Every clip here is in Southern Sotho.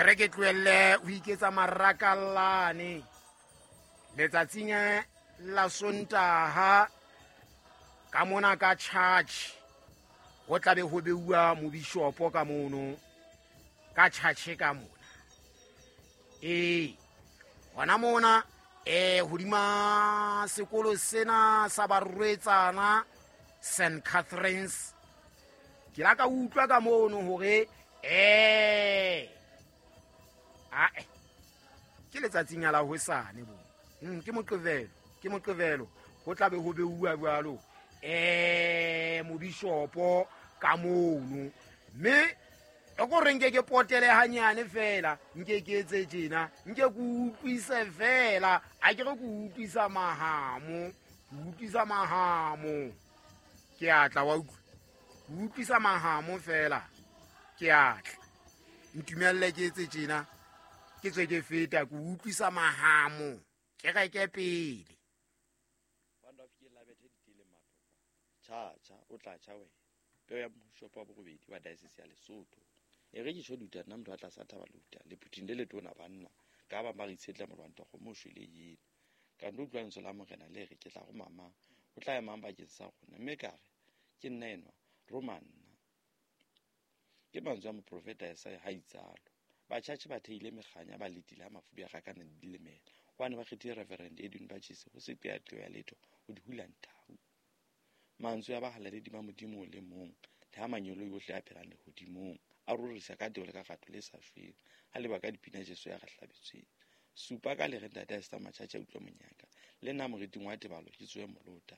E re ke tlohelle ho iketsa marakallane letsatsing la Sontaha ka mona ka church, ho tlabe ho beuwa mobishopo ka mono ka church ka mona. Ee, hona mona hodima sekolo sena sa barwetsana St Catherine's, ke la ka utlwa ka mono hore ae ke letsatsing la hosane bo. Ke moqebelo ho tlabe ho beuwa jwalo mobishopo ka mono. Mme e ko re nke ke potele hanyane fela, nke ke etse tjena, nke ke utlwise fela, a ke re ke utlwisa mahamo, ke utlwisa mahamo. Ke a tla wa utlwa, ke utlwisa mahamo fela, ke a tla. Ntumelle ke etse tjena, ke tswe ke feta, ke utlwisa mahamo, ke reke pele. Cha cha, o tla cha wena. Peo ya moshopo wa borobedi wa diocese ya Lesotho. E re ke tjho duta nna motho a tlasa thaba luta le phuthing le letona banna ka ba ba re itshetla molwanto go mo shwele yena. Ka ndo utlwa lentswe la morena le re ke tla go mama, o tla emang bakeng sa rona, mme ka re ke nna enwa, roma nna. Ke mantswe a moprofeta Isaiah ha itsalo. Batjhatjhe ba theile mekganya ba letile ha mafubi a rakana le dilemela. Hobane ba kgethile Reverend Edwin Bachise ho se qeaqeo ya letho ho di hula nthau. Mantswe a bahalaledi ba Modimo o le mong, le ha manyolo yohle a phelang lehodimong, a rorisa ka tebo le ka rato le sa shweng, a leba ka dipina Jesu ya re hlabetsweng. Supa ka le re ntate a seta matjhatjhe a utlwe monyaka, le nna moriting wa tebalo ke tsohe molota.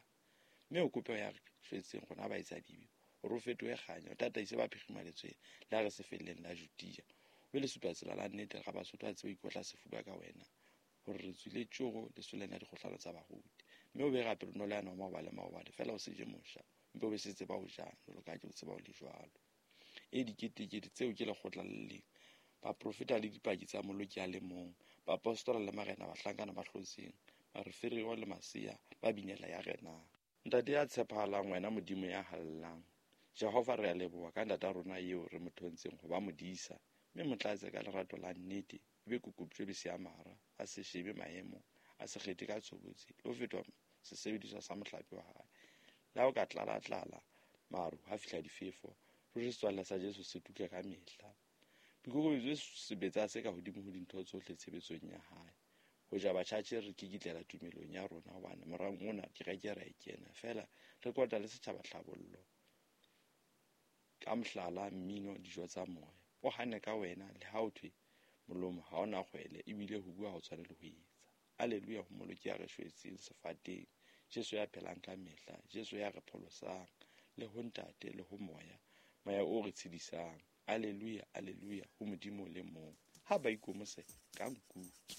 Mme o kope ya re shwetseng rona ba etsa dibe, hore o fetohe kganya, o tataise ba phirimaletsweng, le ha re se felleng la Judea. O be le supa tsela la nnete, ra Basotho a tsebe ho ikotla sefuba ka wena, hore re tswile tjoro lesoleng la dikgohlano tsa baruti. Mme o be rapelo ya nwa maobale maobale, fela o se je mosha, mpe o be se tseba ho jang, jwalo ka ha ke o tseba o le jwalo. E diketekete tseo ke lekgotla le leng, baprofeta le dipaki tsa moloki a le mong, baapostola le marena, bahlankana ba hlotseng, bareferiwa le masea ba binela ya renang. Ntate ya tshepahalang, wena Modimo ya hallang, Jehova re a leboha ka ntata rona eo re mo thontseng ho ba modisa, mme mo tlatse ka lerato la nnete, ebe kokoptjwe le seamara, a se shebe maemo, a se kgethe ka tshobotsi, le ho fetoha sesebediswa sa mohlape wa hae. Le ha o ka tlala-tlala maru, ha fihla difefo, ruri setswalle sa Jesu se tuka ka mehla. Boikokobetso sebetsa se ka hodimo ho dintho tsohle tshebetsong ya hae. Ho ja batjhatjhe re kikitlela tumelong ya rona, hobane morang ona kereke ra e kena, fela re kota le setjhaba tlhabollo. Ka mohlala, mmino, dijo tsa moya. O hane ka wena, le ha o thwe molomo ha ona kgwele, ebile ho bua ha o tshwane le ho etsa. Alleluia ho moloki ya re shwetseng sefateng, Jesu ya phelang ka mehla, Jesu ya re pholosang, le ho ntate le ho moya, moya o re tshedisang. Alleluia, alleluia ho Modimo le mong. Ha ba ikomose ka nkuke.